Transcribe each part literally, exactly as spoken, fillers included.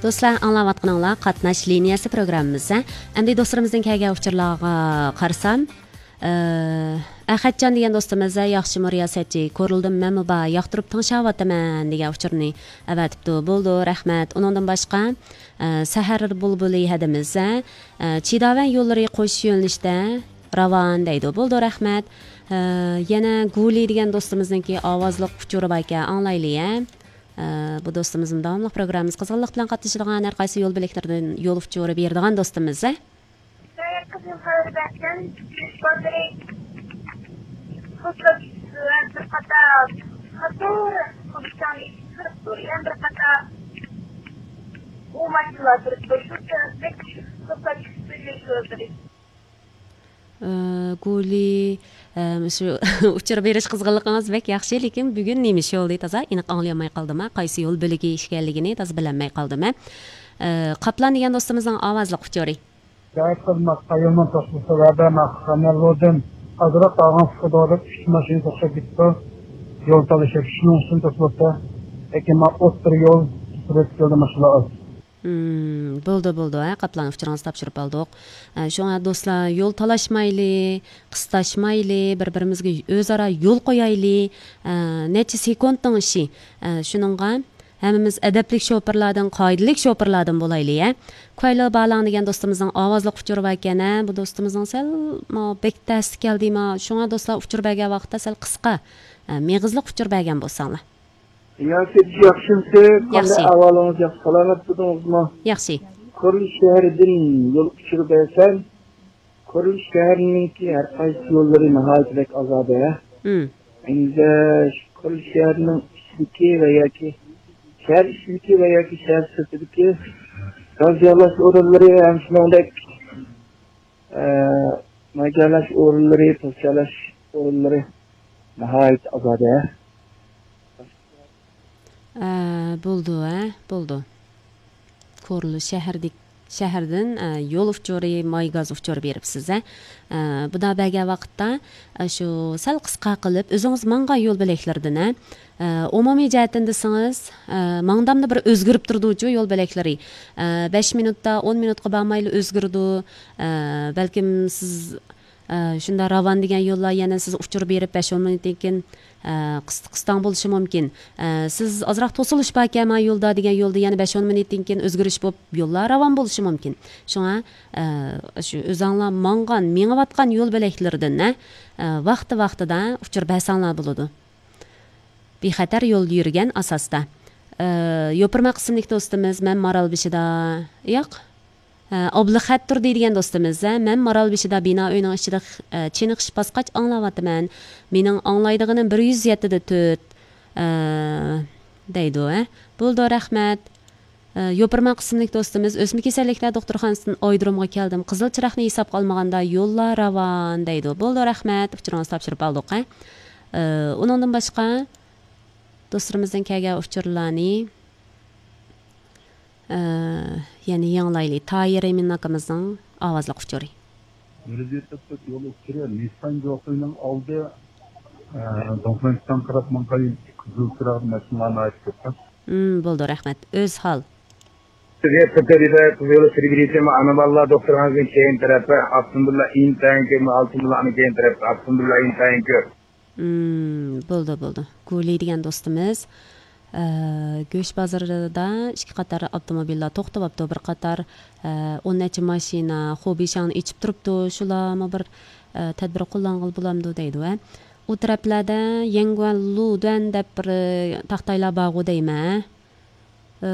دوستلار، ئاڭلاۋاتقىنىڭلار قاتناش لىنىيەسى پروگراممىمىز. ئەمدى دوستلىرىمىزدىن كەلگەن ئۇچۇرلارغا قارىسام، ئە، ئەخەتجان دېگەن دوستىمىز ياخشىمۇ رىياسەتچى، كورلىدىم مەنمۇ بار، ياقتۇرۇپ تىڭشاۋاتىمەن دېگەن ئۇچۇرنى ئەۋەتىپتۇ. بولىدۇ، رەھمەت. ئۇنىڭدىن باشقا، ئە، سەھەر بۇلبۇلى ھەدىمىز، ئە، چىداۋەن يوللىرى قوشۇش يۆنىلىشىدە راۋان دەيدۇ. بولىدۇ، رەھمەت. ئە، يەنە گۇلى دېگەن دوستىمىزنىڭكى ئاۋازلىق ئۇچۇرى باركەن، ئاڭلايلى، ئە. ئە، بۇ دوستىمىزمۇ داۋاملىق پروگراممىمىزغا قىزغىنلىق بىلەن قاتنىشىدىغان، ھەر قايسى يول بۆلەكلىرىدىن يول ئۇچۇرى بېرىدىغان دوستىمىز. قىزىل خەۋەر بەرگەن، بىر قاتار قاتار، يەنە بىر قاتار ئۇ ماشىنىلار تۇرۇپتۇ. شۇ تەرەپتىكى قىزىل ئى، گۇلى، ئى، شۇ ئۇچۇر بېرىش قىزغىنلىقىڭىز بەك ياخشى، لېكىن بۈگۈن نېمە ئىش بولدى، تازا ئېنىق ئاڭلىيالماي قالدىم، ھە، قايسى يول بۆلىكى ئىكەنلىكىنى تازا بىلەلمەي قالدىم، ھە. ئى، قاپلان دېگەن دوستىمىزنىڭ ئاۋازلىق ئۇچۇرى. شاھىت خىزمەت قايۇلنىڭ توختىسى ۋە بەرمەق قاناللىدىن ئازراق قالغان سۇخۇدورۇپ ئۈچ ماشىنا توختاپ كېتىپتۇ. يول تالىشىپ شۇنىڭ ئۈچۈن توختىلىپتۇ. لېكىن ما ئوتتۇرا يول سۈرۈپ كېلىدۇ ماشىنا ئاز. مم، بولدى، بولدى، ھە، قاپلان ئۇچۇرىڭىزنى تاپشۇرۇپ ئالدۇق. ئە، شۇڭا دوستلار، يول تالاشمايلى، قىستاشمايلى، بىر-بىرىمىزگە ئۆزئارا يول قويايلى. ئە، نەچچە سېكۇنتنىڭ ئىشى. ئە، شۇنىڭغا ھەممىمىز ئەدەپلىك شوپۇرلاردىن، قائىدىلىك شوپۇرلاردىن بولايلى، ھە. كۇەيلى بالاڭ دېگەن دوستىمىزنىڭ ئاۋازلىق ئۇچۇرى باركەن، ھە. بۇ دوستىمىزنىڭ سەل، ما، بەك تەستە كەلدى، ما. شۇڭا دوستلار ئۇچۇر بەرگەن ۋاقىتتا سەل قىسقا، ئە، مېغىزلىق ئۇچۇر بەرگەن بولساڭلار. ياكى ياخشىمسىز؟ قانداق ياخشى. ئەھۋالىڭىز؟ ياخشى، سالامەت تۇردىڭىزمۇ؟ ياخشى. كورلى شەھىرىدىن يول ئۇچۇرى بەرسەم، كورلى شەھىرىنىڭكى ھەر قايسى يوللىرى ناھايىتى بەك ئازادە. مم. ئەمدى شۇ كورلى شەھىرىنىڭ ئىچىدىكى ۋە ياكى شەھەر ئىچىدىكى ۋە ياكى شەھەر سىرتىدىكى گاز يالاش ئورۇنلىرى ھەم شۇنىڭدەك ئە، ماي جايلاش ئورۇنلىرى، پوست جايلاش ئورۇنلىرى ناھايىتى ئازادە. ئە، بولدى، ئە، بولدى. كورلا شەھەردىك-، شەھەردىن، ئە، يول ئۇچۇرى، ماي گاز ئۇچۇرى بېرىپسىز، ئە. ئە، بۇنداق بەرگەن ۋاقىتتا، ئە، شۇ سەل قىسقا قىلىپ، ئۆزىڭىز ماڭغان يول بۆلەكلىرىدىن، ئە، ئە، ئومۇمىي جەھەتتىن دېسىڭىز، ئە، ماڭدامدا بىر ئۆزگىرىپ تۇرىدۇچۇ يول بۆلەكلىرى. ئە، بەش مىنۇتتا، ئون مىنۇتقا بارمايلا ئۆزگىرىدۇ. ئە، بەلكىم سىز، ئە، شۇنداق راۋان دېگەن يوللار يەنە سىز ئۇچۇر بېرىپ بەش ئون مىنۇتتىن كېيىن، ئە، قىس-، قىستاڭ بولۇشى مۇمكىن. ئە، سىز ئازراق توسۇلۇش باركەن ما يولدا دېگەن يولدا يەنە بەش ئون مىنۇتتىن كېيىن ئۆزگىرىش بولۇپ يوللار راۋان بولۇشى مۇمكىن. شۇڭا، ئە، شۇ ئۆزەڭلار ماڭغان، مېڭىۋاتقان يول بۆلەكلىرىدىن، ئە، ۋاقتى ۋاقتىدا ئۇچۇر بەرسەڭلار بولىدۇ. بىخەتەر يولدا يۈرگەن ئاساستا. ئى، يوپۇرماق ئىسىملىك دوستىمىز، مەن مارالبېشىدا، ياق. ئى، ئابلىخەت تۇردى دېگەن دوستىمىز، ھە، مەن مارالبېشىدا بىنا ئۆينىڭ ئىچىدە، ئى، چېنىقىش باسقاچ ئاڭلاۋاتىمەن. مېنىڭ ئاڭلايدىغىنىم بىر يۈز يەتتىدە تۆت، ئى، دەيدۇ، ھە. بولىدۇ، رەھمەت. ئە، يوپۇرماق ئىسىملىك دوستىمىز، ئۆسمە كېسەللىكلەر دوختۇرخانىسىدىن ئايرودرومغا كەلدىم. قىزىل چىراغنى ھېسابقا ئالمىغاندا يوللار راۋان دەيدۇ. بولىدۇ، رەھمەت. ئۇچۇرىڭىزنى تاپشۇرۇپ ئالدۇق، ھە. ئە، ئۇنىڭدىن باشقا دوستلىرىمىزدىن كەلگەن ئۇچۇرلارنى، ئە، يەنە يېڭىلايلى. تاھىر ئىمىن ئاكىمىزنىڭ ئاۋازلىق ئۇچۇرى. يۈز يەتمىش تۆت يول ئۇچۇرى، نىسسان جوخۇينىڭ ئالدى، ئە، دوڭفېڭشىتاڭغا قاراپ ماڭغان قىزىل چىراغدا ماشىنىلار ناھايىتى كۆپ. مم، بولىدۇ، رەھمەت. ئۆزھال. سىزگە سەپەر ھىدايەت قىزى يولى تىلگە يېتىمەن، ئانا بالىلار دوختۇرخانىسىنىڭ كەينى تەرەپى، ئاپتوموبىللار ئىنتايىن كۆپ، ئاپتوموبىللارنىڭ كەينى تەرەپى، ئاپتوموبىللار ئىنتايىن كۆپ. مم، بولىدۇ، بولىدۇ. گۇلى دېگەن دوستىمىز، ئە، گۆش بازىرىدا ئىككى قاتار ئاپتوموبىللار توختىۋاپتۇ. بىر قاتار، ئە، ئون نەچچە ماشىنا خوبىشاڭنى ئېچىپ تۇرۇپتۇ. شۇلارمۇ بىر، ئە، تەدبىر قوللانغىلى بولامدۇ دەيدۇ، ھە. ئۇ تەرەپلەردە يەنگۇەن لۇدۈەن دەپ بىر، ئە، تاختايلار بارغۇ دەيمەن، ھە. ئە،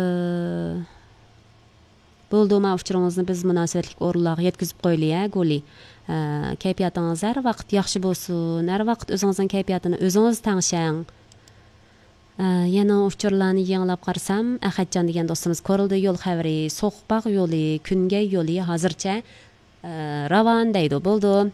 بولدى، ما ئۇچۇرىڭىزنى بىز مۇناسىۋەتلىك ئورۇنلارغا يەتكۈزۈپ قويىلى، ھە، گۇلى. ئە، كەيپىياتىڭىز ھەر ۋاقىت ياخشى بولسۇن، ھەر ۋاقىت ئۆزىڭىزنىڭ كەيپىياتىنى ئۆزىڭىز تەڭشەڭ. ئە، يەنە ئۇچۇرلارنى يېڭىلاپ قارىسام، ئەخەتجان دېگەن دوستىمىز كورلىدا يول خەۋىرى، سوقپاق يولى، كۈنگەي يولى ھازىرچە، ئە، راۋان دەيدۇ. بولدى.